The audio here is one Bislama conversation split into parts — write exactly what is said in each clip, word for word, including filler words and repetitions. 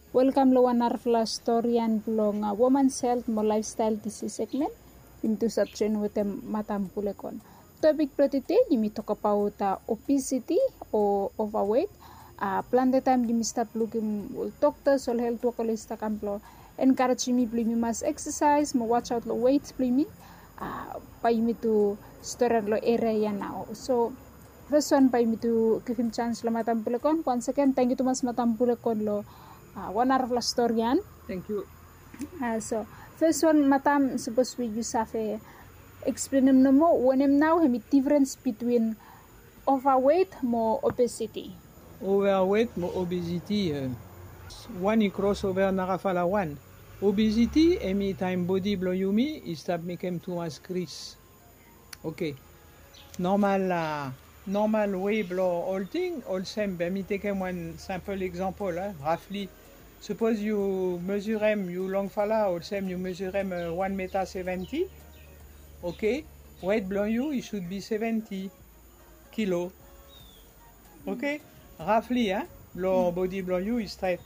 Welkam long wan narafala storian blong woman helt mo laefstael disis segmen. Yumi tu stap joen wetem Madam Pulekon. Topik blong tede yumi tokbaot obesiti o overweight. Plante taem yumi stap lukim ol doktas, ol helt wok oli stap kam blong enkarejim yumi blong yumi mas eksasaes mo wajaot long wet blong yumi. Bae yumi tu storian long eria ya nao. So fes wan bae yumi tu givim janis long Madam Pulekon. Wan seken, tangkiu tumas Madam Pulekon long wan narafala storian. Tangkiu. So fes wan, Madam, sapos we yu save eksplenem nomo wanem nao hemi difrens bitwin overweight mo obesiti? Overweight mo obesiti, wan i kros ova narafala wan. Obesiti hemi taem bodi blong yumi i stap mekem tumas gris. Oke. Normal, normal wei blong olting olsem, be mi tekem wan simpel eksampol, roughly. Sapos yu mezurem, yu longfala olsem, yu mezurem wan meta seventi. Oke. Wet blong yu i should be seventi kilo. Oke. Roughly, blong bodi blong yu i stret.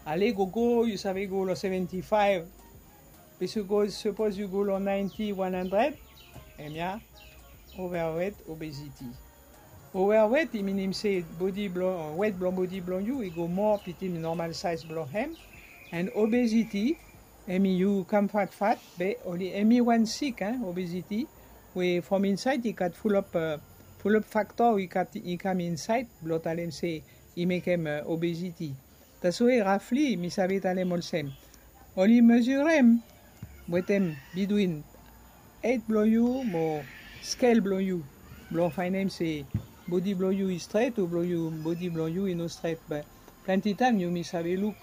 Ale gogo yu save go long seventi faef. Be sapos yu go long naenti, wan handred, hemia overweight, obesiti. Overweight i minim se bodi blong, wet blong bodi blong yu i go moa bitwin normal saes blong hem. And obesiti hemi yu kam fatfat, be oli hemi wan sik, obesiti, we from insaed i gat fulap, fulap faktor i gat, i kam insaed blong talem se i mekem obesiti. That's why roughly mi save talem olsem, oli mezurem wetem bitwin hed blong yu mo skel blong yu blong faenem se bodi blong yu i stret o blong yu, bodi blong yu i no stret. Be plante taem yumi save luk,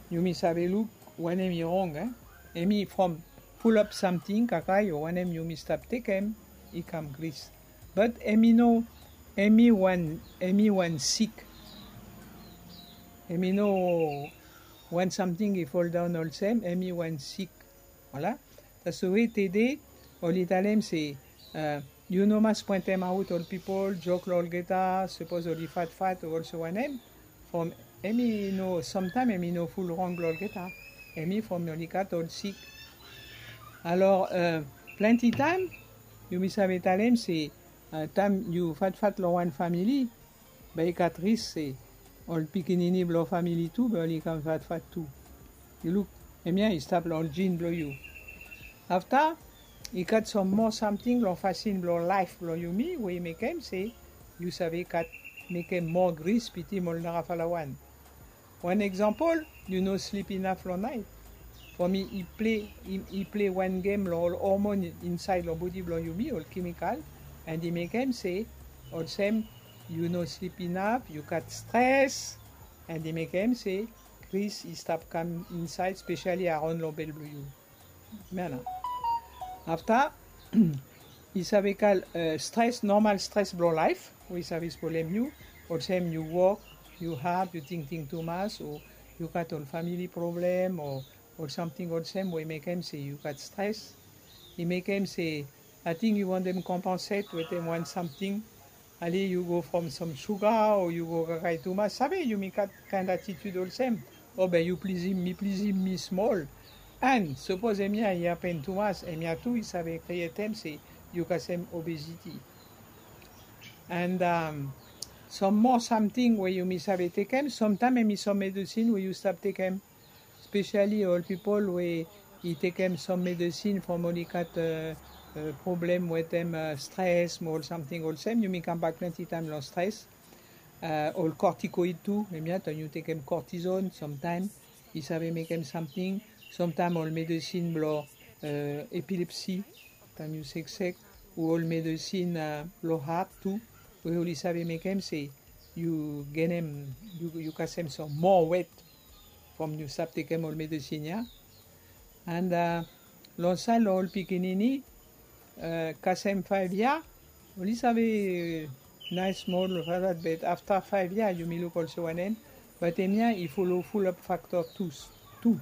yumi save luk wanem i rong. Hemi from fulap samting kakae o wanem yumi stap tekem i kam gris. But hemi no, hemi wan, hemi wan sik. Hemi no wan samting i foldaon olsem, hemi wan sik. Voilà. That's why tede oli talem se yu no mas poentemaot ol pipol, jok long olgeta sapos oli fatfat o olsem wanem. From hemi no, samtaem hemi no ful rong blong olgeta. Hemi from oli gat ol sik. Alor plante taem yumi save talem se taem yu fatfat long wan famili, be i gat risk se ol pikinini blong famili tu be oli kam fatfat tu. Yu luk, hemia i stap long ol jin blong yu. Afta i gat sam moa samting long fasin blong laef blong yumi we i mekem se yu save gat, mekem moa gris bitwin ol narafala wan. Wan eksampol, yu no slip inaf long naet. From i, i ple, i ple wan gem long ol hormon insaed long bodi blong yumi, ol kemikal, and i mekem se olsem yu no slip inaf, yu gat stres, and i mekem se gris i stap kam insaed, spesiali araon long bel blong yu. Mena. Afta i save gat stres, normal stres blong laef we i save spolem yu. Olsem yu wok, yu had, yu tingting tumas, o yu gat ol famili problem o ol samting olsem we i mekem se yu gat stres. I mekem se ating yu wantem kompenset wetem wan samting. Ale yu go from sam suga o yu go kakae tumas. Save yumi gat kaen atitud olsem, o be yu plizim mi, plizim mi smol. And sapos hemia i hapen tumas, hemia tu i save krietem se yu kasem obesiti. And sam moa samting we yumi save tekem, samtaem hemi sam medesin we yu stap tekem. Spesiali ol pipol we i tekem sam medesin from oli gat problem wetem stres mo ol samting olsem. Yumi kambak plante taem long stres. Ol kortikoid tu, hemia taem yu tekem kortizon samtaem i save mekem samting. Samtaem ol medesin blong epilepsi taem yu seksek, o ol medesin blong hat tu, we oli save mekem se yu genem, yu kasem sam moa wet from yu stap tekem ol medesin ya. And long saed long ol pikinini, kasem faef yia oli save naes smol, be afta faef yia yumi luk olsem wanem. But hemia i folo fulap fakto tu.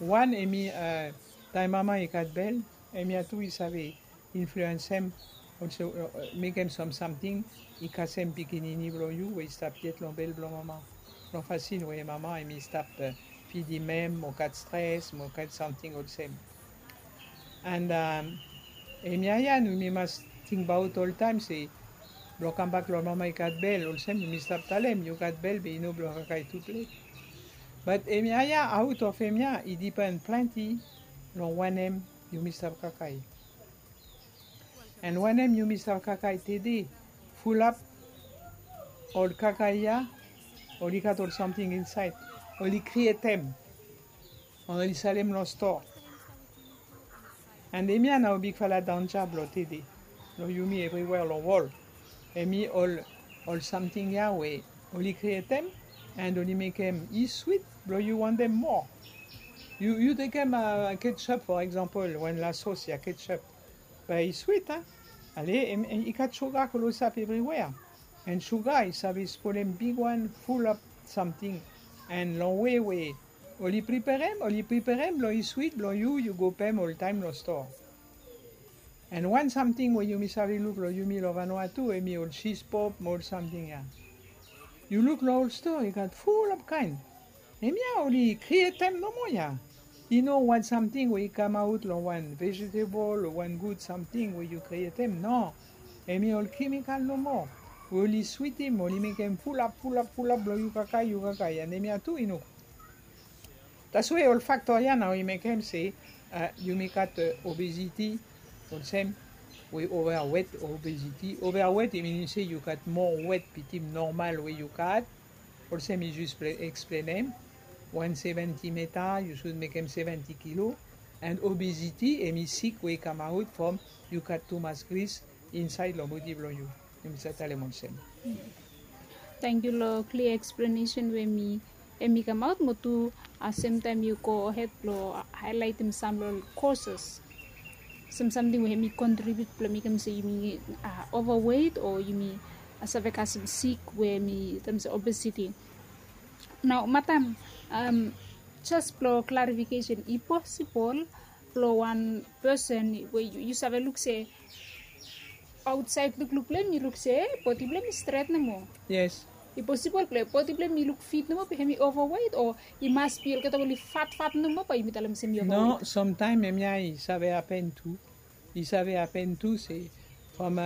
Wan hemi taem mama i gat bel, hemia tu i save influensem, olsem mekem sam samting i kasem pikinini blong yu we i stap yet long bel blong mama, long fasin we mama hemi stap pidim hem, mo gat stres, mo gat samting olsem. And hemia ya nao yumi mas tingbaot oltaem se blong kambak long mama i gat bel, olsem yumi stap talem yu gat bel be i no blong kakae tu plet. Bat hemia ya, aot of hemia i dipen plante long wanem yumi stap kakae. And wanem yumi stap kakae tede, fulap ol kakae ya oli gat ol samting insaed, oli krietem, oli salem long stoa. And hemia nao bigfala danja blong tede long yumi evriwea long wol. Hemi ol, ol samting ya we oli krietem and oli mekem i swit blong yu wantem moa. Yu, yu tekem ketchup, for example, wan lasos ya, ketchup. Bae i swit, a? Ale, i gat suga klosap evriwea. And suga i save spolem bigwan fulap samting. And long wei we oli priperem, oli priperem blong i swit blong yu, yu go pem oltaem long stoa. And wan samting we yumi save luk long yumi long Vanuatu, hemi ol sispop mo ol samting ya. Yu luk long ol stoa, i gat fulap kaen. Hemia oli krietem nomo ya. I no wan samting we i kamaot long wan vegetable o wan gud samting we yu krietem, no. Hemi ol kemikal nomo we oli switim, oli mekem fulap, fulap, fulap blong yu kakae, yu kakae. And hemia tu i no gud. That's why ol faktor ya nao i mekem se yumi gat obesity, olsem, we overweight, obesity. Overweight i minim se yu gat moa wet bitim normal we yu gat. Olsem i jus eksplenem, wan seventy meta, yu sud mekem seventy kilo. And obesity hemi sik we i kamaot from yu gat tumas gris insaed long bodi blong yu. Yumi save talem olsem. Tangkiu long klia eksplanesen we mi, hemi kamaot, mo tu semtaem yu go hed blong haelaetem sam long ol causes, sam samting we hemi kontribiut blong mekem se yumi overweight o yumi save kasem sik we hemi talem se obesity. Nao madam, jes blong klarifikesen, i posibol blong wan pesen we yu save luk se aotsaed lukluk blong hem i luk se bodi blong hem i stret nomo? Yes. I posibol blong bodi blong hem i luk fit nomo be hemi overweight, o i mas bi olgeta oli fatfat nomo bae yumi talem se hemi overweight? No, samtaem hemia i save hapen tu. I save hapen tu se from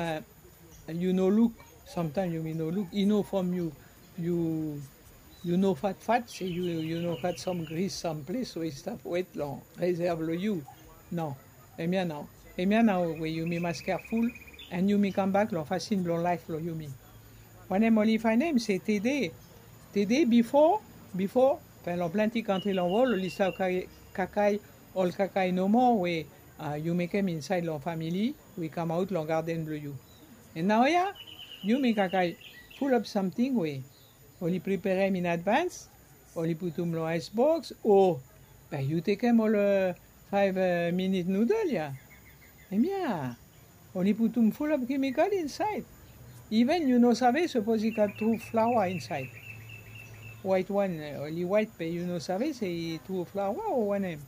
yu no luk, samtaem yumi no luk, i no from yu, yu, yu no fatfat se yu, yu no gat sam gris samples we i stap wet long reserve blong yu. No. Hemia nao, hemia nao we yumi mas careful and yumi kambak long fasin blong laef blong yumi. Wanem oli faenem se tede, tede, bifo, bifo, fen long plante kantri long wol oli stap kakae ol kakae nomo we yu mekem insaed long famili we i kamaot long garden blong yu. And naoia yumi kakae fulap samting we oli priperem in advance, oli putum long aes boks, o bae yu tekem ol faef minit nudol ya. Hemia oli putum fulap kemikal insaed. Iven yu no save sapos i gat tru flaoa insaed. Waet wan, oli waet be yu no save se i tru flaoa o wanem.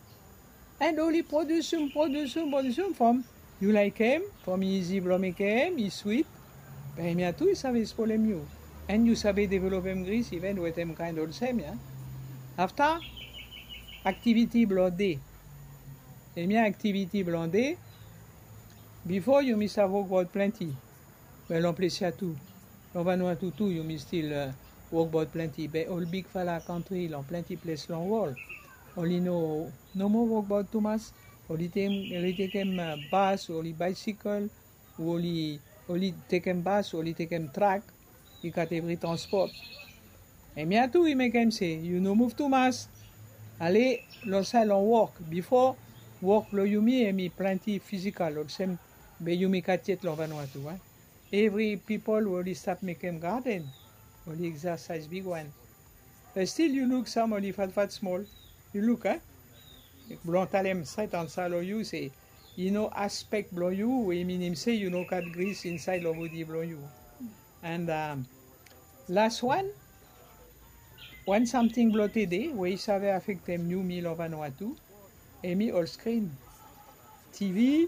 And oli produsum, produsum, produsum from yu laekem, from i izi blong mekem, i swit. Be hemia tu i save spolem yu. And yu save developem gris iven wetem kaen olsem ya. Afta, aktiviti blong de. Hemia aktiviti blong de. Bifo yumi save wokbaot plante. Be long ples ya tu, long Vanuatu tu yumi stil wokbaot plante, be ol bigfala kantri long plante ples long wol, oli no, no moa wokbaot tumas. Oli tekem, oli tekem bas, oli baesikel, o oli, oli tekem bas, oli tekem trak. I gat evri transpot. Hemia tu i mekem se yu no muv tumas. Ale, long saed long wok, bifo, wok blong yumi hemi plante fisikal olsem be yumi gat yet long Vanuatu, a? Evri pipol we oli stap mekem gaden oli eksasaes bigwan. Be stil yu luk sam oli fatfat smol. Yu luk, a? Blong talem stret ansa long yu se i no aspek blong yu we i minim se yu no gat gris insaed long bodi blong yu. And las wan, wan samting blong tede we i save afektem yumi long Vanuatu, hemi ol skrin, TV,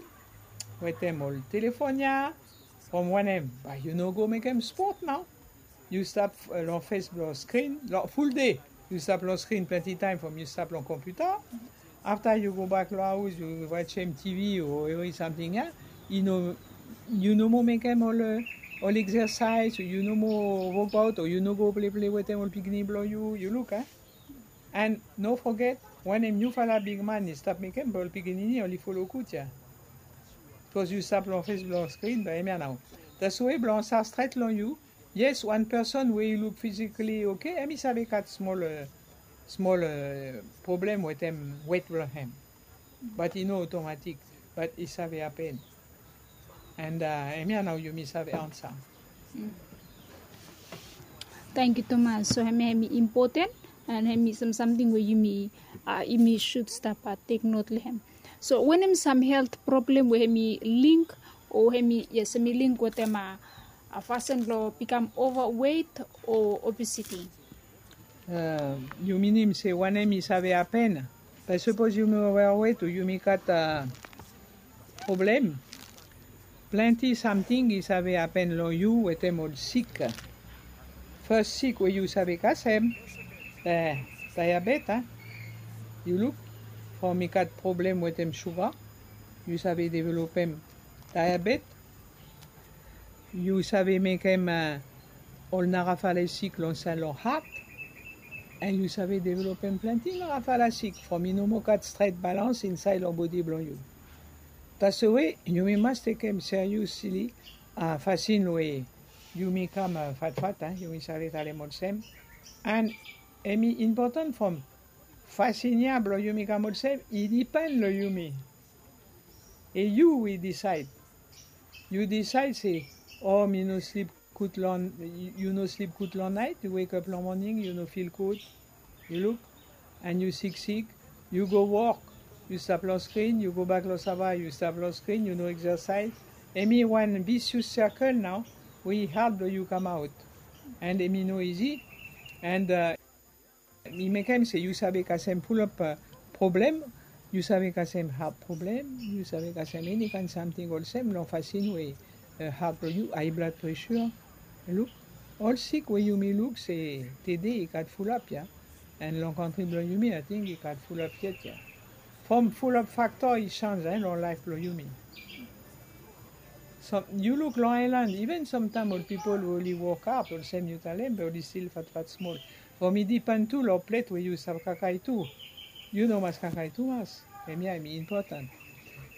wetem ol telefon ya. From wanem? Bae yu no go mekem spot nao. Yu stap long fes blong skrin long ful de. Yu stap long skrin plenti taem from yu stap long kompiuta. Afta yu gobak long aos, yu wajem TV o evri samting ya. I no, yu no moa mekem ol, ol eksersaes, yu no moa wokbaot, o yu no go pleple wetem ol pikinini blong yu, yu luk, a? And no foget, wanem yufala bigman i stap mekem, be ol pikinini oli folo gud ya. Bikos yu stap long fes blong skrin, be hemia nao. Taswe blong save stret long yu, yes, wan peson we i luk fisikali oke, hemi save gat smol, eh, smol, eh, problem wetem wet blong hem. Bat i no otomatik, bat i save hapen. And, eh, hemia nao yumi save ansa. Tangkiu tumas. So hemia hemi impoten, and hemi sam samting we yumi, ah, yumi sud stap, ah, tek not long hem. So wanem sam helt problem we hemi link, o hemi, yes, hemi link wetem, ah, ah, fasin blong bikam overweight o obesity? Eh, yu minim se wanem i save hapen? Be sapos yumi overweight o yumi gat, ah, problem, plenti samting i save hapen long yu wetem ol sik. Fes sik we yu save kasem, eh, diabet, a? Yu luk, from i gat problem wetem suga, yu save developem diabet. Yu save mekem, eh, ol narafala sik long saed long hat, and yu save developem plenti narafala sik from i no moa gat stret balans insaed long bodi blong yu. Taswe yumi mas tekem seriosli, ah, fasin we yumi kam, ah, fatfat, a, yumi save talem olsem. And hemi impoten from fasin ya blong yumi kam olsem, i dipen long yumi. E yu we disaed. Yu disaed se, o, mi no slip gud long, yu no slip gud long naet, yu wekap long moning, yu no fil gud. Yu luk, and yu siksik, yu go wok, yu stap long skrin, yu gobak long sava, yu stap long skrin, yu no eksersaes. Hemi wan vicious circle nao, we i had blong yu kamaot. And hemi no izi. And, eh, i mekem se yu save kasem fulap, eh, problem, yu save kasem hat problem, yu save kasem eni kaen samting olsem long fasin we, eh, hat blong yu, high blood pressure. Luk, ol sik we yumi luk se tede i gat fulap ya, and long kantri blong yumi ating i gat fulap yet ya. From fulap fakto i sanj, eh, long laef blong yumi. Yu luk long aelan, iven samtaem ol pipol we oli wok had, olsem yu talem, be oli stil fatfat smol. From i dipen tu long plet we yu stap kakae tu. Yu no mas kakae tumas. Hemia hemi impoten.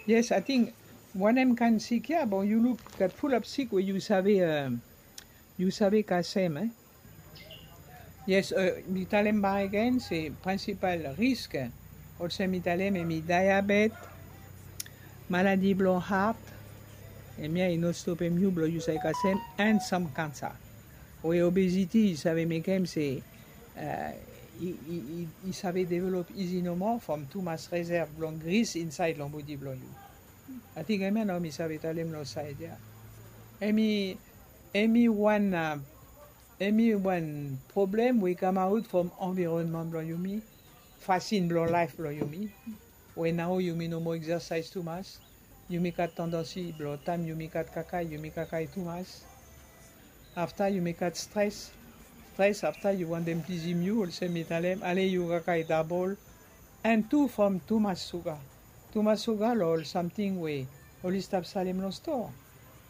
Yes, ating wanem kaen sik ya, be yu luk gat fulap sik we yu save, eh, yu save kasem, eh. Yes, eh, mi talem bakegen se prinsipal risk, olsem mi talem, hemi diabet, maladi blong hat, hemia i no stopem yu blong yu save kasem, and sam kansa. We obesity i save mekem se, eh, i, i, i, i save develop izi nomo from tumas resev blong gris insaed long bodi blong yu. Ating hemia nao mi save talem long saed ya. Hemi, hemi wan, ah, hemi wan problem we i kamaot from anvironman blong yumi, fasin blong laef blong yumi. We nao yumi no moa eksersaes tumas, yumi gat tandansi blong taem yumi gat kakae, yumi kakae tumas. Afta yumi gat stres. Stres, afta yu wantem plizim yu, olsem mi talem, ale yu kakae dabol. And tu from tumas suga. Tumas suga long ol samting we oli stap salem long stoa.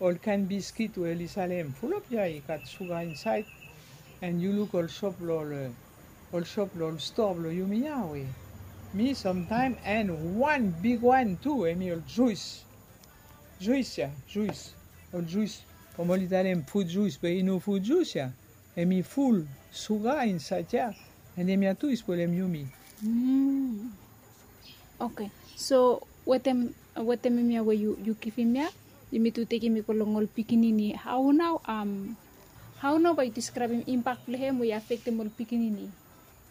Ol kaen biskit we oli salem, fulap ya i gat suga insaed. And yu luk ol sop long ol, ol sop long ol stoa blong yumi ya we. Mi samtaem, and wan bigwan tu, hemi ol juis. Juis ya, juis. Ol juis. From oli talem frut juis, be i no frut juis ya. Hemi ful suga insaed ya. And hemia tu i spolem yumi. Mm. Oke. So wetem, wetem hemia we yu, yu givim ya, yumi tu tekem i go long ol pikinini. Hao nao, am, hao nao bae yu deskraebem impak blong hem we i afektem ol pikinini?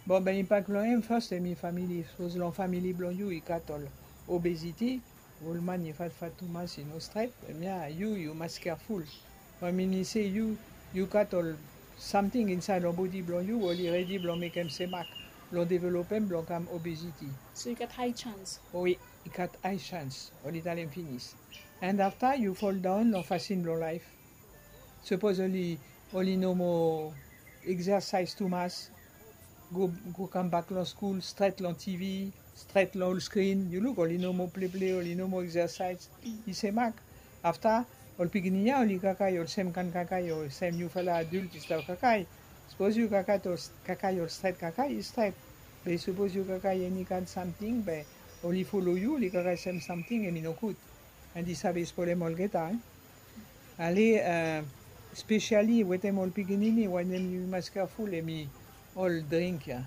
Be, be impak blong hem, fes hemi famili. Sapos long famili blong yu i gat ol obesity, ol man i fatfat tumas, i no stret, hemia yu, yu mas keaful. Be minim se yu, yu gat ol samting insaed long bodi blong yu we oli redi blong mekem semak, blong developem blong kam obesity. So i gat hae sans? Wi, i gat hae sans, oli talem finis. And afta yu foldaon long fasin blong laef. Sapos oli, oli no moa eksersaes tumas, Go kambak long skul stret long tivi, stret long ol skrin. Yu luk, oli no moa pleple, oli no moa eksesaes. I se mak afta ol pikinini ya oli kakae olsem kan kakae olsem niufala adult i stap kakae. Sapos yu kakae ol stret kakae i stret, be sapos yu kakae eni kan samting be oli folo yu, oli kakae sem samting, em i nogud. Andi save spolem olgeta. Ale, spesiali wetem ol pikinini wanem yu mas keaful em i ol dring ya.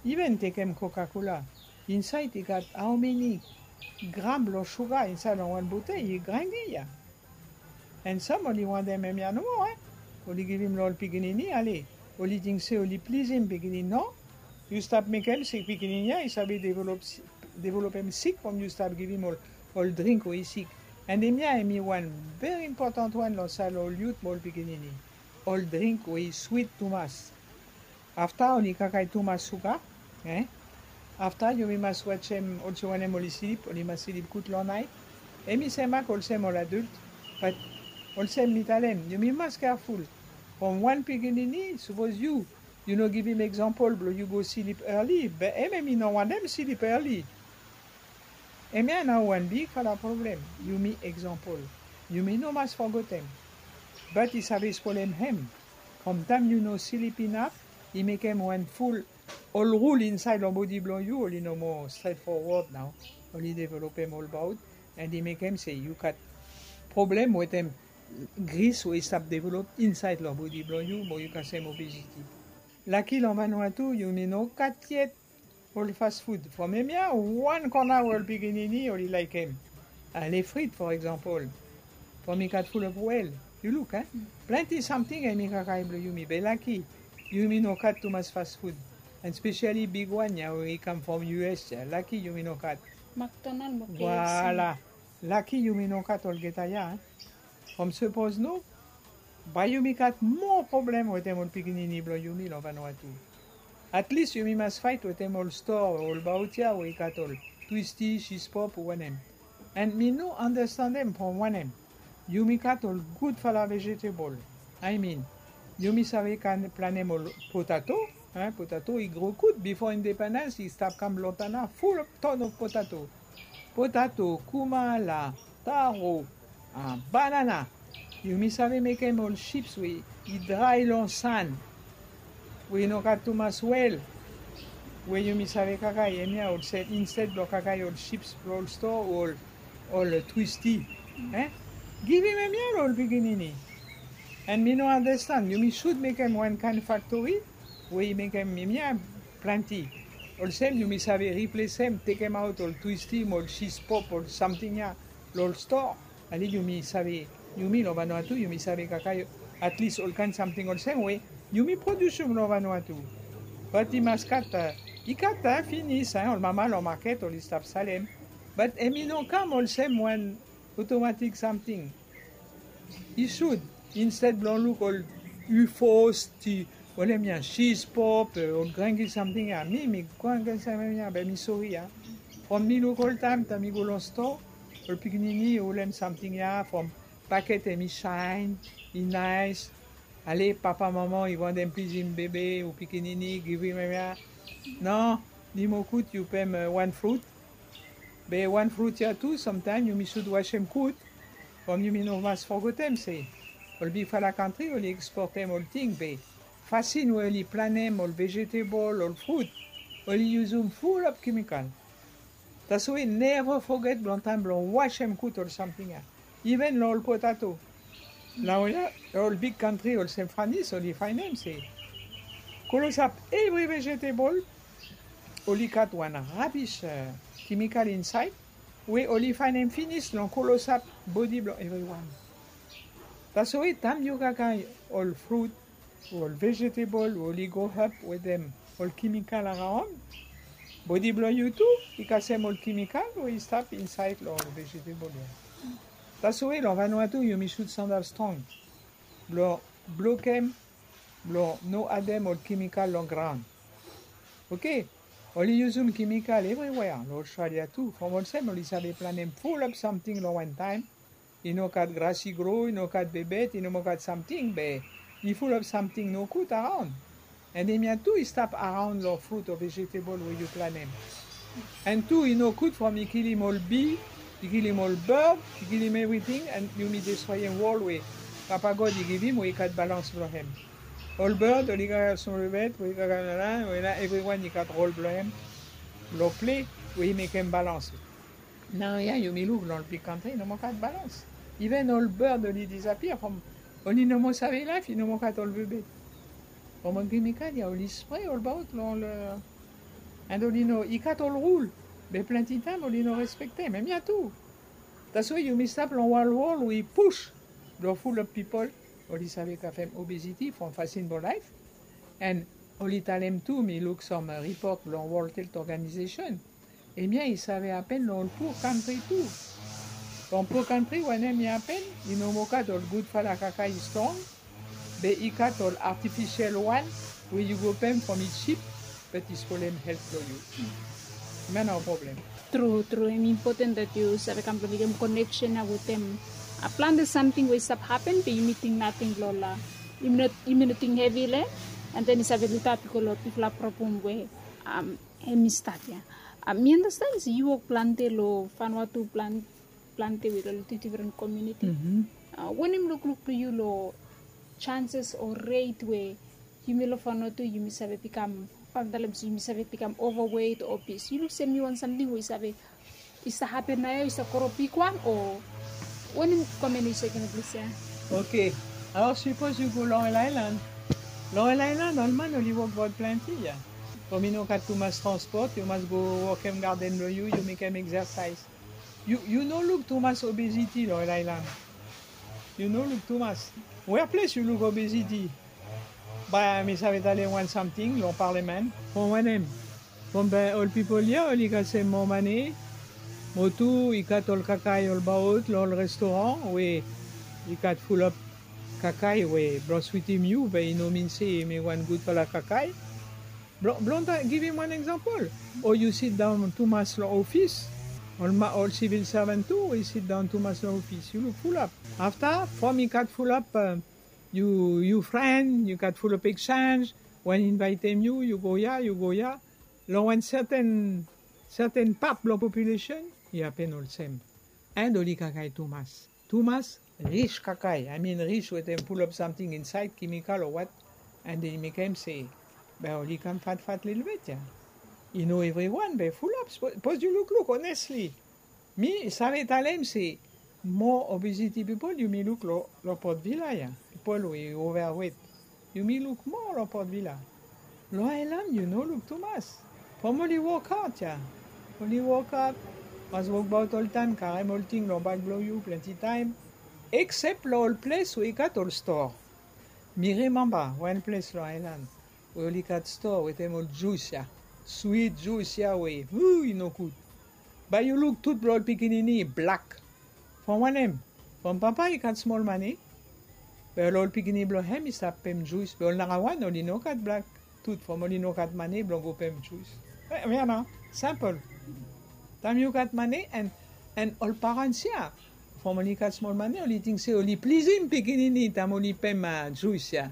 Iven tekem kokakola, insaed i gat aomeni gram blong suga insaed long wan botei i grangi ya. An sam oli wantem em ya nomo. Oli givim long ol pikinini ale oli ting se oli plizim pikinini no. Yu stap mekem se pikinini ya i save developem sik from yu stap givim ol dring we i sik. An em ya em i wan veri impotan wan long saed long ol yut mo ol pikinini. Ol dring we i swit tumas. Afta oli kakae tumas suga. Afta yumi mas wajem olsem wanem oli slip oli mas slip gud long naet. Em i semak olsem ol adult. Bat olsem mi talem yumi mas keaful. From wan pikinini sapos yu yu no givim eksampol blong yu go slip eli be em em i no wantem slip eli. Em ya nao wan bigfala problem. Yumi eksampol yumi no mas fogetem. Bat i save spolem hem. From taem yu no slip inaf i mekem wan ful ol rul insaed long bodi blong yu oli no moa stret fowod nao. Oli developem olbaot an i mekem se yu gat problem wetem gris we i stap develop insaed long bodi blong yu mo yu kasem obeziti. Laki long vanua tu yumi no gat yet ol fas fud from em ya wan kona we ol pikinini oli laekem. Ale frit for eksampol from i gat fulop wel. Yu luk a plenti samting em i kakae blong yumi be laki yumi no gat tumas fas fud. An spesiali bigwan ya we i kam from us ya laki yumi no gat. Maktonal mo kfc. Laki yumi no gat olgeta ya. From sapos no bae yumi gat moa problem wetem ol pikinini blong yumi long vanua tu. Atlis yumi mas faet wetem ol stoa o ol baot ya we i gat ol twisti sispop o wanem. An mi no andastandem from wanem. Yumi gat ol gudfala vejetebol. Aemin yumi save kan planem ol potato. Potato i gro gud bifo independans i stap kam blong tana fulop ton of potato. Potato, kumala, taro, banana. Yumi save mekem ol sips we i drae long san we i no gat tumas wel. We yumi save kakae em ya olsem insted blong kakae ol sips blong ol stoa o ol twisti. Givim em ya long ol pikinini. An mi no andastan yumi sud mekem wan kaen faktori we i mekem em ya plenti. Olsem yumi save riplesem tekemaot ol twisti mo ol sispop ol samting ya long ol stoa. Ale yumi save yumi long vanua tu yumi save kakae atlis ol kaen samting olsem we yumi produsim long vanua tu. Bat i mas gat i gat finis ol mama long maket oli stap salem. Bat em i no kam olsem wan otomatik samting. I sud insted blong luk ol ufos ti ol em ya sispop ol grangi samting ya mi mi grangi samting ya be mi sori ya. From mi luk oltaem taem mi go long stoa ol pikinini i holem samting ya from paket em i saen i naes. Ale papa mama i wantem plizim bebe o pikinini givim em ya. No, ni mo gud yu pem wan frut. Be wan frut ya tu samtaem yumi sud wasem gud. From yumi no mas fogetem se ol bigfala kantri oli eksportem ol ting be fasin we oli planem ol vejetebol ol frut oli yusum fulap kemikal. Taswe neva foget blong taem blong wasem gud ol samting ya. Iven long ol potato naoia ol big kantri olsem franis oli faenem se klosap evri vejetebol oli gat wan rabis kemikal insaed we oli faenem finis long klosap bodi blong evriwan. Taswe taem yu kakae ol frut o ol vejetebol we oli go hap wetem ol kemikal araon bodi blong yu tu i kasem ol kemikal we i stap insaed long ol vejetebol ya. Taswe long vanua tu yumi sud sandal strong blong blokem blong no adem ol kemikal long graon. Oke. Oli yusum kemikal evriwea long australia tu from olsem oli save planem fulap samting long wantaem. I no gat gras i gro i no gat bebet i no moa gat samting be i fulap samting nogud araon. And hemia tu i stap araon long fruit o vegetable we yu planem. And tu i no gud from i kilim ol bee, i kilim ol bird, i kilim everything, and yumi destroyem world we Papa God i givim we i gat balans blong hem. Ol bird oli gat smol bed we i gat nana we na everyone i gat rol blong hem. Long play we i mekem balans. Naoia yumi luk long ol big country i no moa gat balans. Even ol bird oli disappear from, oli no moa save laef, i no moa gat ol bebe. From ol kemikal ya oli spray olbaot long ol, and oli no, i gat ol rul, be plenti taem oli no respektem. Hemia tu. That's why yumi stap long wan world we i push blong fulap pipol oli save gavem obesity from fasin blong laef. And oli talem tu, mi luk sam ripot blong World Health Organization. Hemia i save hapen long ol pua kantri tu. Long pua kantri wanem i hapen, i no moa gat ol gudfala kakae i strong, be i gat ol artifisial wan we yu go pem from i jip, be i spolem helt blong yu. Hemia nao problem. Tru, tru, hem impoten dat yu save kam blong mekem koneksen ya wetem plante samting we i stap hapen be yumi ting nating long ol, yumi no ting hevi long hem, and then i save litaot i go long bigfala problem we hem i stat ya. Mi andasten se yu wok plante long Vanuatu, plante wit ol difren komuniti. Wanem lukluk blong yu long chances o rate we yumi long Vanuatu yumi save bikam, bae mi talem se yumi save bikam overweight o obese? Yu luk se hemi wan samting we i save, i save hapen naoia, i save gro bigwan, o wanem komen yu save givim plis ya? Oke. Alor sipos yu go long ol aelan. Long ol aelan ol man oli wokbaot plenti ya. From i no gat tumas transpot, yu mas go wokem gaden blong yu, yu mekem eksasaes. Yu, yu no luk tumas obesity long ol aelan. Yu no luk tumas. Wea ples yu luk obesity? Bae mi save talem wan samting long parliament. From wanem? From bae ol pipol ya oli gat sem moa mane. Mo tu i gat ol kakae olbaot long ol restoran we i gat fulap kakae we blong switim yu, be i no min se hemi wan gudfala kakae. Blong, blong givim wan eksampol, o yu sidaon tumas long ofis, ol ma, ol sivil savan tu we i sidaon tumas long ofis, yu luk fulap. Afta from i gat fulap, yu, yu fren, yu gat fulap eksenj, wan invaetem yu, yu go ya, yu go ya. Long wan serten, serten pat blong populesen i hapen olsem. And oli kakae tumas. Tumas ris kakae, I mean ris wetem fulap samting insaed, kemikal o wat, and i mekem se bae oli kam fatfat lelebet ya. I no evriwan be fulap, sipos yu lukluk, honestly. Mi save talem se moa obesity pipol yumi luk long Port Vila ya, pipol we i overweight. Yumi luk moa long Port Vila. Long aelan yu no luk tumas. From oli wokhaod ya. Oli wokhaod, mas wokbaot oltaem, karem ol ting long bak blong yu plenti taem. Eksep long ol ples we i gat ol stoa. Mi rimemba wan ples long aelan we oli gat stoa wetem ol jus ya. Swit jus ya we, uu, i nogud. Bae yu luk tut blong ol pikinini i blak. From wanem? From papa i gat smol mane, be ol pikinini blong hem i stap pem jus, be ol narawan oli no gat blak tut from oli no gat mane blong go pem jus. Hemia nao, simpol. Taem yu gat mane, and, and ol parans ya, from oli gat smol mane, oli ting se oli plizim pikinini taem oli pem jus ya.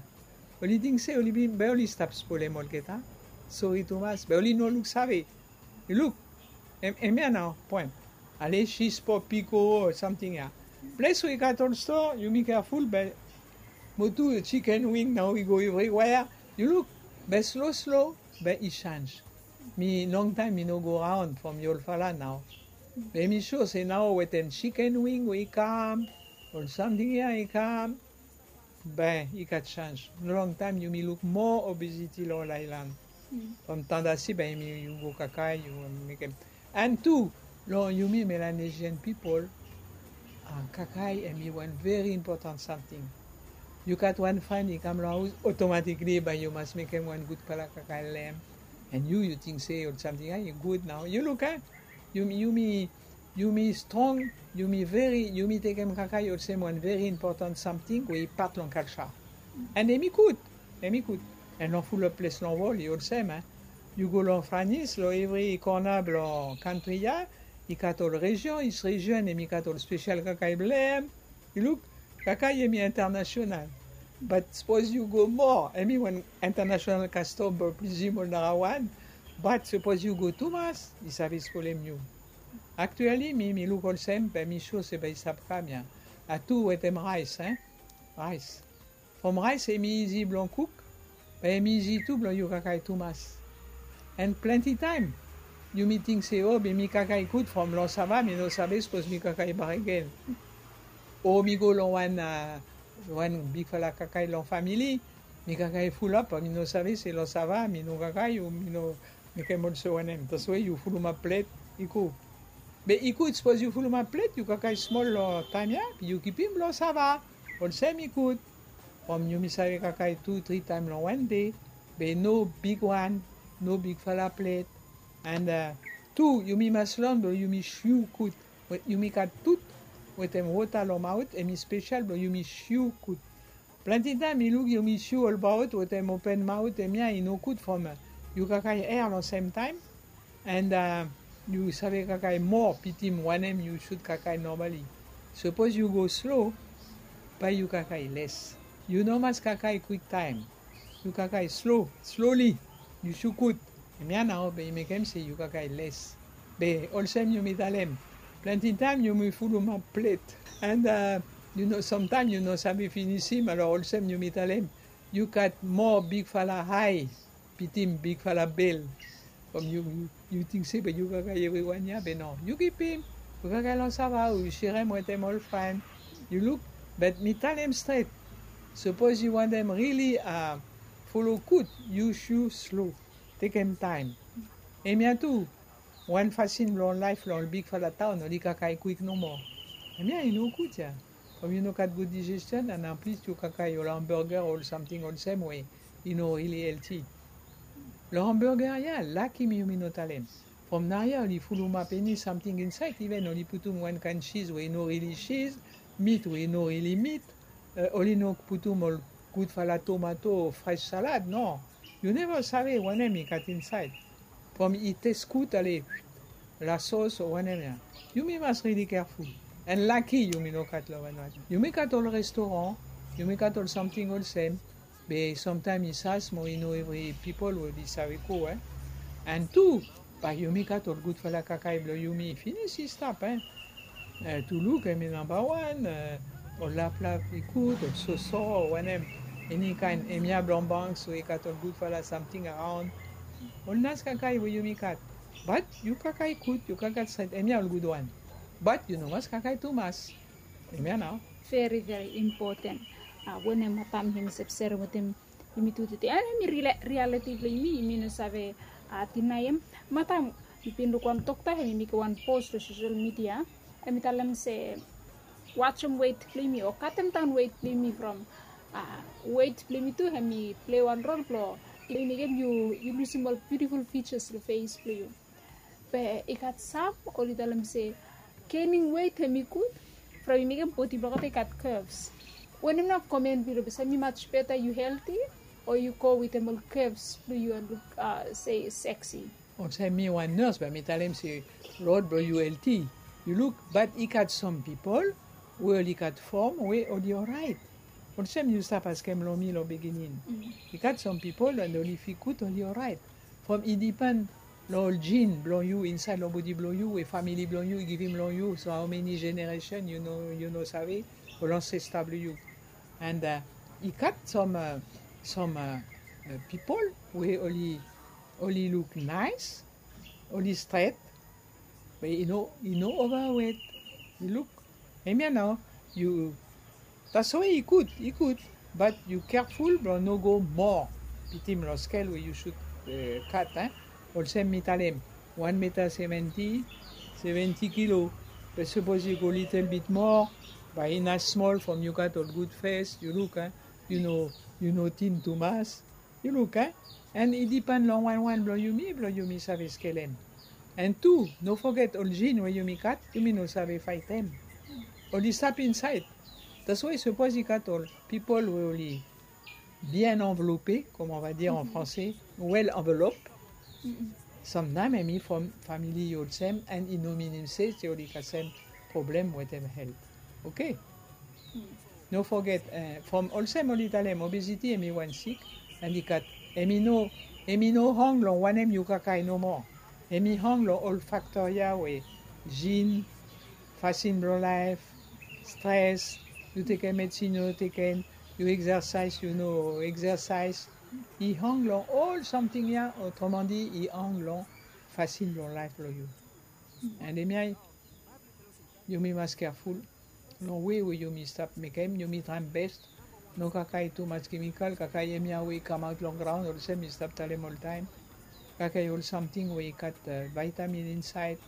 Oli ting se oli bin, be oli stap spolem olgeta. Sori tumas, be oli no luksave. Yu luk, hem, hemia nao poen. Ale, jis po piko o samting ya. Ples we i gat ol stoa, yumi keaful be, mo tu chicken wing nao i go evriwea. Yu luk, be slo slo be i senj. Mi longtaem mi no go raon from mi olfala nao. Be mi sua se nao wetem chicken wing we i kam, ol samting ya i kam, be i gat senj. Longtaem yumi luk moa obesity long ol aelan. From tandasi be yumi, yu go kakae, yu mekem. And tu long yumi Melanesian pipol, kakae hemi wan veri impotan samting. Yu gat wan fren i kam long haos, otomatikli bae yu mas mekem wan gudfala kakae long hem. And yu, yu ting se ol samting ya i gud nao. Yu luk, a? Yumi, yumi, yumi strong, yumi veri, yumi tekem kakae olsem wan veri impotan samting we i pat long kalja. And hemi gud, hemi gud. And long fulap ples long wol i olsem, a? Yu go long Franis, long evri kona blong kantri ya, i gat ol rejion, each rejion hemi gat ol spesial kakae blong hem. Yu luk, kakae hemi internasional. Bat sapos yu go moa, hemi wan international kastom blong plizim ol narawan. Bat sapos yu go tumas, i save spolem yu. Aktuali mi mi luk olsem bae mi sua se bae i stap kam ya. Atu wetem raes, en? Raes. From raes hemi izi blong kuk, bae hemi izi tu blong yu kakae tumas. An plante taem yumi ting se, o, be mi kakae gud from long sava, mi no save sapos mi kakae baregen. O mi go long wan, a, wan bigfala kakae long famili, mi kakae fulap, mi no save se long sava mi no kakae, o mi no mekem olsem wanem. Taswe yu fulumap plet, i go. Be i gud sapos yu fulumap plet, yu kakae smol long taem ya, be yu kipim long sava. Olsem i gud. From yumi save kakae tu tri taem long wan dei, be no bigwan, no bigfala plet. An, a, tu yumi mas lon blong yumi sio gud. Yumi gat tut wetem wota long maot, hemi spesel blong yumi sio gud. Plante taem mi luk yumi sio olbaot wetem open maot, hemia i no gud from yu kakae aer long semtaem. An, a, yu save kakae moa pitim wanem yu sud kakae nomali. Sapos yu go slo, bae yu kakae les. Yu no mas kakae kwiktaem. Yu kakae slo, sloli. Yu sio gud. Hemia nao bae i mekem se yu kakae les. Be olsem yumi talem, plante taem yumi fulumap plet. An, a, yu no, samtaem yu no save finisim, alor olsem yumi talem, yu gat moa bigfala ae pitim bigfala bel. From yu, yu, yu ting se be yu kakae evriwan ya, be no. Yu kipim, yu kakae long sava, o yu serem wetem ol fren. Yu luk, be mi talem stret. Sapos yu wantem rili, a, folo gud, yu sio slo. Tekem taem. Hemia tu, wan fasin long laef long ol bigfala taon, oli kakae kwik nomo. Hemia i no gud ya. From yu no gat gud dijestion, an an plis yu kakae ol hamburger, ol samting olsem we i no rili elti. Long hamburger ya, laki mi yumi no talem. From nao ya oli fulumap eni samting insaed, iven oli putum wan kaen siz we i no rili siz, mit we i no rili mit, e, oli no putum ol gudfala tomato o fres salad, no. Yu neva save wanem i gat insaed. From i tes gud ale, lasos o wanem ya. Yumi mas rili careful. An laki yumi no gat long wan wan. Yumi gat ol restoran, yumi gat ol samting olsem, be samtaem i sas mo i no evri pipol we oli save go, e. An tu, bae yumi gat ol gudfala kakae blong yumi, finis i stap, e. E, tu luk, hemi namba wan, e, ol laplap i gud, ol soso, o wanem, eni kaen, hemia blong banks we i gat ol gudfala samting araon. Ol naes kakae we yumi gat. Bat yu kakae gud, yu kakae stret, hemia ol gudwan. Bat yu no mas kakae tumas. Hemia nao. Veri, veri impoten. A, wanem matam hemi stap serem wetem yumi tu tede. An hemi ria-, rialiti blong yumi, yumi no save, a, dinaem. Matam, mi bin luk wan dokta, hemi mekem wan pos long sosel midia. Hemi talem se, wajem wet blong yumi o katem daon wet blong yumi from, a, wet blong yumi tu, hemi plei wan rol blong, blong mekem yu, yu lusim ol biutiful features long fes blong yu. Be i gat sam oli talem se, gaining weight hemi gud, from i mekem bodi blong olgeta i gat curves. Wanem nao komen blong yu, be se hemi much better yu healthy, o yu go wetem ol curves blong yu an luk, a, se sexy? Olsem mi wan nurse, bae mi talem se rod blong yu healthy. Yu luk, bat i gat sam pipol we oli gat fom we oli oraet. Olsem yu stap askem long mi long biginin. I gat sam pipol an oli figud oli oraet. From i dipen long ol jin blong yu insaed long bodi blong yu, we famili blong yu i givim long yu, so hao meni jeneresen yu no, yu no save, ol ansesta blong yu. An, a, i gat sam, a, sam, a, pipol we oli, oli luk naes, oli stret, be i no, i no ovawet. Yu luk, hemia nao, yu, taswe i gud, i gud, bat yu careful blong no go moa pitim long skel we yu sud, e, kat, en. Olsem mi talem, wan meta seventi, seventi kilo. Be sapos yu go litel bit moa, bae i naes smol from yu gat ol gud fes, yu luk, en. Yu no, yu no tin tumas. Yu luk, en? An i dipen long wan wan blong yumi, blong yumi save skelem. An tu, no foget ol jin we yumi gat, yumi no save faetem. Oli stap insaed. Taswe sapos i gat ol pipol we oli bien anvelope, comme on va dire en français, well envelope. Samtaem hemi from famili i olsem, an i no minim se, se oli kasem problem wetem health. Oke? No foget, from olsem oli talem, obesiti hemi wan sik, and i gat, hemi no, hemi no hang long wanem yu kakae nomo. Hemi hang long ol faktor ya we jin, fasin blong laef, stres, yu tekem medsin yu no tekem, yu eksasaes yu no eksasaes. I hang long ol samting ya, otromandi i hang long fasin blong laef blong yu. And hemia yumi mas keaful long we we yumi stap mekem, yumi traem bes. No kakae tumas kemikal, kakae hemia we i kamaot long graon olsem mi stap talem oltaem. Kakae ol samting we i gat vaitamin insaed.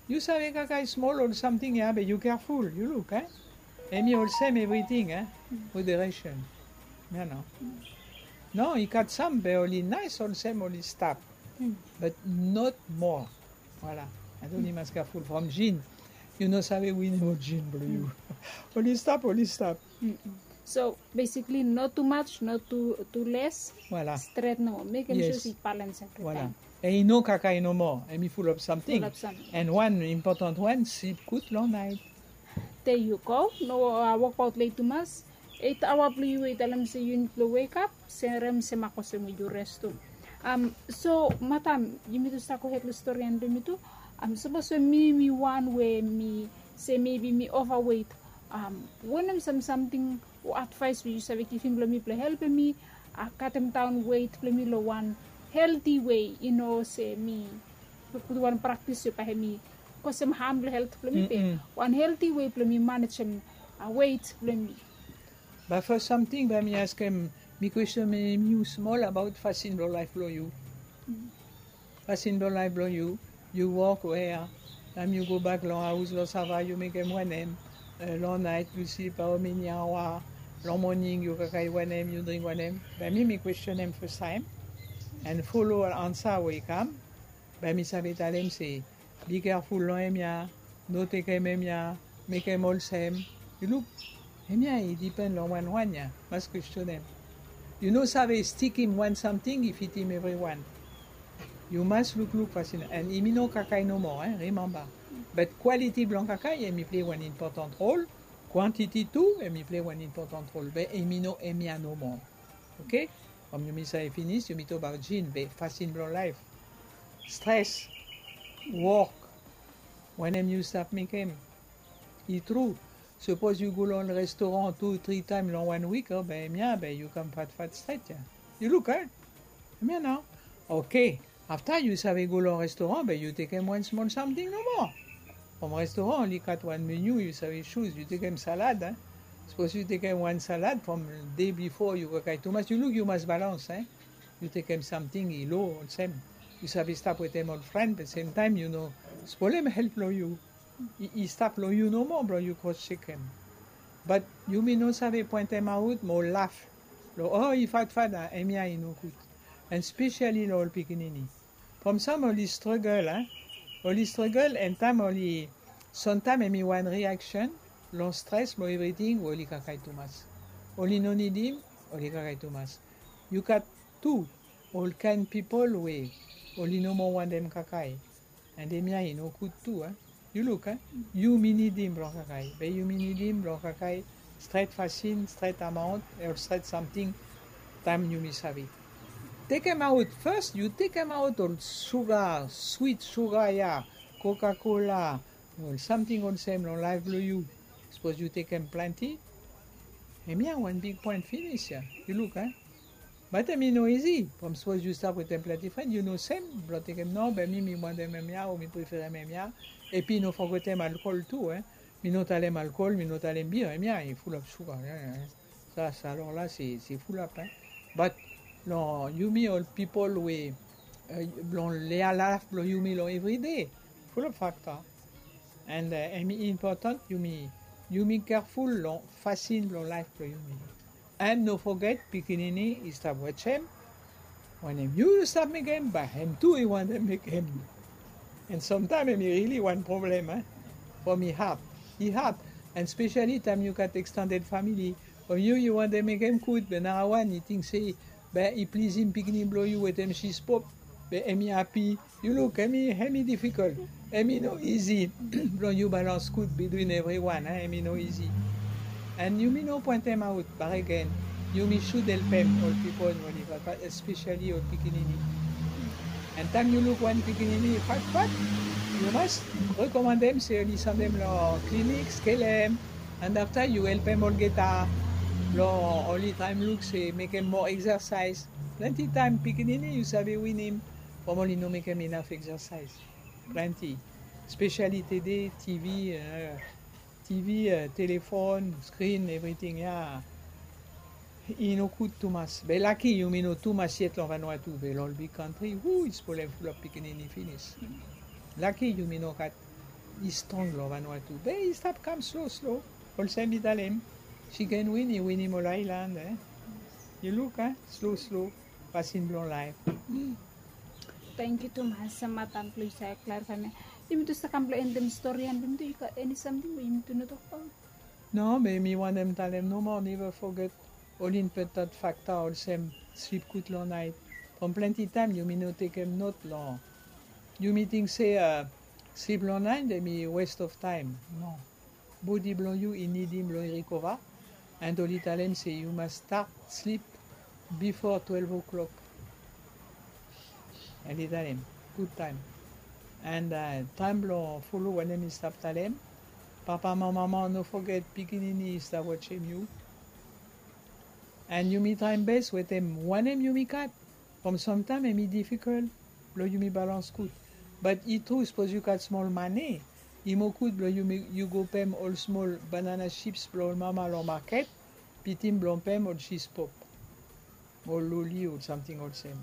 Yu save kakae smol ol samting ya be yu keaful, yu luk, e? Hemi olsem evriting, e? Moderation. Nano. No, i gat sam be oli naes olsem oli stap. But not more. Voilà. Ating oli mas keaful from jin. Yu no save win ol jin blong yu. Oli stap, oli stap. So basically no tumas, no tu les. Voilà. Stret nomo, mekem sua se i balans evri taem. Voilà. And i no kakae nomo, hemi fulap samting. Fulap samting. And wan impotan wan, slip gud long naet. There you go. No wokbaot let tumas. Eit aoa blong yu we i talem se yu nid blong wekap, serem se mak olsem we yu res tu. So madam, yumi tu stap gohed long storian blong yumi tu. Sapos we mi mi wan we mi se mebi mi ovawet, wanem sam samting o advaes we yu save givim long mi blong helpem mi katem daon wet blong mi long wan helti wei, i no se mi putum wan praktis we bae hemi kosem ham long helt blong mi be wan helti wei blong mi manejem wet blong mi. Bae fas samting bae mi askem, mi kwestenem yu smol abaot fasin blong laef blong yu. Fasin blong laef blong yu, yu wok wea, taem yu gobak long haos long sava yu mekem wanem, long naet yu slip haomeni aoa, long moning yu kakae wanem, yu dring wanem. Bae mi mi kwestenem fastaem. And folo ansa we i kam, bae mi save talem se, bi keaful long hemia, no tekem hemia, mekem olsem. Yu luk, hemia i dipen long wan wan ya, mas kwestenem. Yu no save stikim wan samting i fitim evriwan. Yu mas lukluk fasin, and hemi no kakae nomo, e, rimemba. But kwaliti blong kakae hemi plei wan impotan rol, kwantiti tu hemi plei wan impotan rol, be hemi no hemia nomo. Oke? From yumi save finis, yumi tokbaot jin, be fasin blong laef, stres, wok, wanem yu stap mekem. I tru, sapos yu go long restoran tu tri taem long wan wik, o be hemia be yu kam fatfat stret ya. Yu luk, e? Hemia nao. Oke. Afta yu save go long restoran, be yu tekem wan smol samting nomo. From restoran oli gat wan menu yu save suz, yu tekem salad, e. Sapos yu tekem wan salad from de bifo yu kakae tumas, yu luk yu mas balans, e. Yu tekem samting i lo olsem. Yu save stap wetem ol fren, be semtaem yu no spolem helt blong yu. I stap long yu nomo blong yu kros jekem. But yumi no save poentemaot mo laf long, o, i fatfat, a, hemia i nogud. And spesiali long ol pikinini. From sam oli stragel, a, oli stragel, and taem oli, samtaem hemi wan reaksen long stres mo evriting we oli kakae tumas. Oli no nidim, oli kakae tumas. Yu gat tu ol kaen pipol we oli no moa wantem kakae. And hemia i nogud tu, a. Yu luk, a, yumi nidim blong kakae, be yumi nidim blong kakae stret fasin, stret amaon, o stret samting, taem yumi save. Tekemaot, fas yu tekemaot ol suga, swit suga ya, Coca-Cola, ol samting olsem long laef blong yu. Sapos yu tekem plante, hemia wan big poen finis ya. Yu luk, a. Bat hemi no izi, from sapos yu stap wetem plante fren, yu no sem blong tekem, no, be mi, mi wantem hemia, o mi preferem hemia, epi no fogetem alkol tu, e. Mi no talem alkol, mi no talem bia, hemia i fulap suga, e, e. Sa, sa long la se, se fulap, e. Bat long yumi ol pipol we, e, long laef blong yumi long evride, fulap fakta. And, e, hemi impotan yumi, yumi keaful long fasin blong laef blong yumi. And no foget, pikinini i stap wajem. Wanem yu stap mekem, bae hem tu i wantem mekem. And samtaem hemi rili wan problem, e. From i had, i had. And spesiali taem yu gat extended famili, from yu, yu wantem mekem gud, be narawan i ting se, be i plizim pikinini blong yu wetem sispop, be hemi hapi. Yu luk, hemi, hemi difikol. Hemi no izi blong yu balans gud bitwin evriwan, e, hemi no izi. And yumi no pointemaot bakegen. Yumi sud helpem ol pipol we oli fatfat, especially ol pikinini. And taem yu luk wan pikinini i fatfat, yu mas rekomandem se oli sendem long klinik, skelem. And afta yu helpem olgeta long oli traem luk se mekem moa exercise. Plante taem pikinini yu save winim from oli no mekem inaf exercise. Plante. Especially tede, TV, TV, telefon, screen, evriting ya. I no gud tumas. Be laki yumi no tumas yet long Vanuatu, be long ol big kantri, hu, i spolem fulap pikinini finis. Laki yumi no gat i strong long Vanuatu. Be i stap kam slo slo. Olsem mi talem, chicken win i winim ol aelan, e. Yu luk, e, slo slo. Fasin blong laef. Tangkiu tumas, madam, blong yu save klarifaem ya. Yumi tu stap kam blong endem storian blong yumi tu, yu gat eni samting we yumi tu no tokbaot? No, be mi wantem talem nomo, neva foget ol impotan fakta olsem slip gud long naet. From plante taem yumi no tekem not long, yumi ting se slip long naet hemi waste of taem. No. Bodi blong yu i nidim blong i rikova. And oli talem se yu mas stat slip bifo twelve o'clock. Oli talem gud taem. And taem blong folo wanem mi stap talem. Papa mo mama, no foget pikinini i stap wajem yu. And yumi traem bes wetem wanem yumi gat. From samtaem hemi difikol blong yumi balans gud. Bat i tru, sapos yu gat smol mane, i moa gud blong yu go pem ol smol banana chips blong ol mama long maket, bitim blong pem ol jis pop, ol loli, ol samting olsem.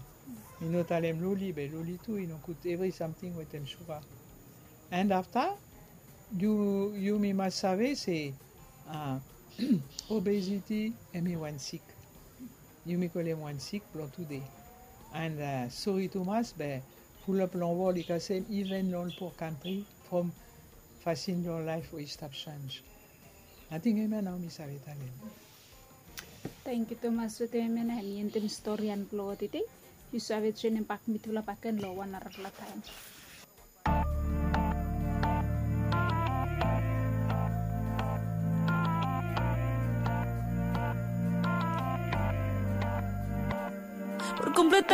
Mi no talem loli be loli tu i no gud, evri samting wetem suga. And afta, yumi mas save se obesiti hemi wan sik. Yumi kolem wan sik blong tude. And sori tumas be fulap long wol i kasem, iven long ol poa kantri, from fasin blong laef we i stap senj. Ating hemia nao mi save talem. Tangkiu tumas wetem hemia nao mi endem storian blong tede. Yu save joenem bak mitufala bakegen long wan narafala taem. Por completar